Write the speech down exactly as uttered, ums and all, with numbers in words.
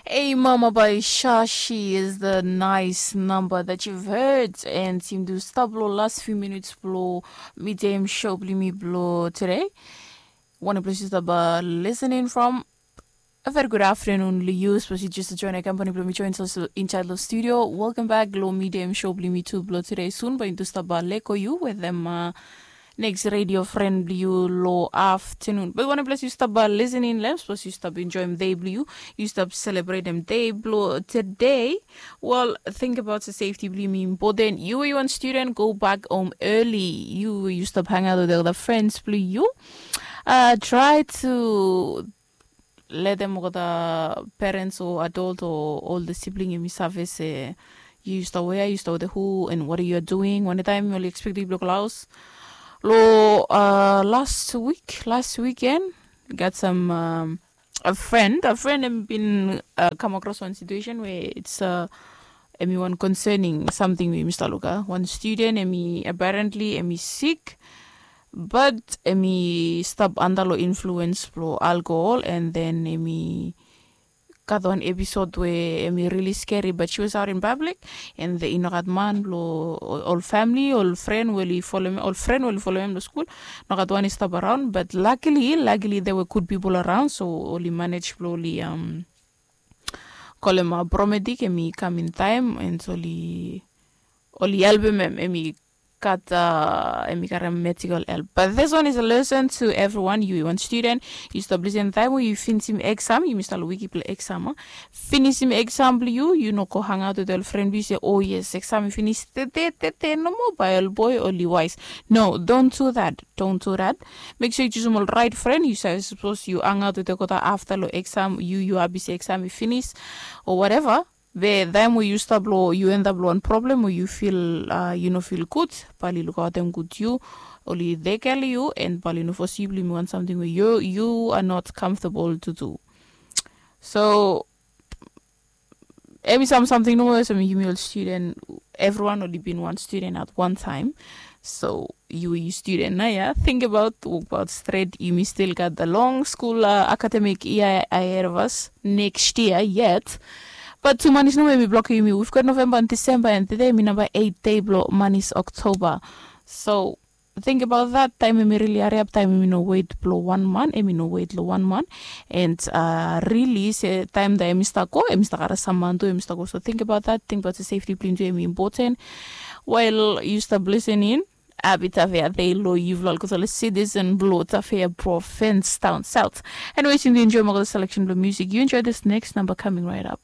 Ei mama by Shashi is the nice number that you've heard, and yumi tu stap lo last few minutes blo medium show blo yumi blo today. One place you stap uh, listening from. A very good afternoon, Liu. Suppose you just join a company blo mi join also inside the studio. Welcome back, lo medium show blo yumi tu blo today. Soon, but you stap uh, leko you with them. Uh, next radio friend blo yumi lo afternoon. But one place you stop uh, listening lem, suppose you stop enjoying day blo yumi, you stop celebrating day blo today. Well, think about the safety blo yumi important. You, you want student, go back home early. You, you stop hang out with the other friends blo yumi. Uh, try to let them go the parents or adult or all the sibling in service. Uh, you used to where, you used to the who, and what are you doing? One time you only expect to block house. Lo uh, last week, last weekend, got some um, a friend. A friend have been uh, come across one situation where it's uh, emi one concerning something with Mr. Luka. One student, emi apparently emi sick, but emi stop under lo influence blo alcohol, and then emi gat one episode where emi really scary, but she was out in public, and the inogat man blo all family, all friend will follow me, all friend will follow him to school. Nogat one is stop around, but luckily, luckily there were good people around, so only manage blo only um call him a paramedic, emi come in time, and so only only help him, emi kat uh, emi karem medical help. But this one is a lesson to everyone. You one student, you stop listen time when you finish him exam, you must all wiki play exam. Huh? Finish him exam, you you no go hang out with your friend. You say, oh yes, exam finish. Tete tete no mobile boy only wise. No, don't do that. Don't do that. Make sure you choose all right friend. You say suppose you hang out with the kota after lo exam. You you abisi exam finish or whatever. Be taem we yu stap long yu end up long wan problem we yu fil yu no fil gud, bae oli lukaotem gud yu, oli tekem yu, and bae oli no fosibli mi wan samting we yu are not comfortable to do. So em i sam samting nomo olsem yumi ol studen, evriwan oli bin wan studen at wan taem. So yu yu studen nao ya, tingbaot, wokbaot stret, yumi stil gat long skul akademik yia ahed of as next yia yet. Bat tu manis nomo em i blokem yumi. We've got November and December, and tede em i namba eit dei blong manis Oktoba. So tingbaot dat, taem em i rili hariap, taem em i no wet blong wan man, em i no wet long wan man. And rili se taem dat em i stap go, em i stap karem sam man tu, em i stap go. So tingbaot dat, tingbaot se sefti blong yumi tu em i impoten. Wael yu stap lisening, hapi Tafea Dei long yufala olgeta ol citizen blong Tafea provins daon saot. Anyways, yumi enjoem olgeta seleksen blong musik. Yu enjoy this next number coming right up.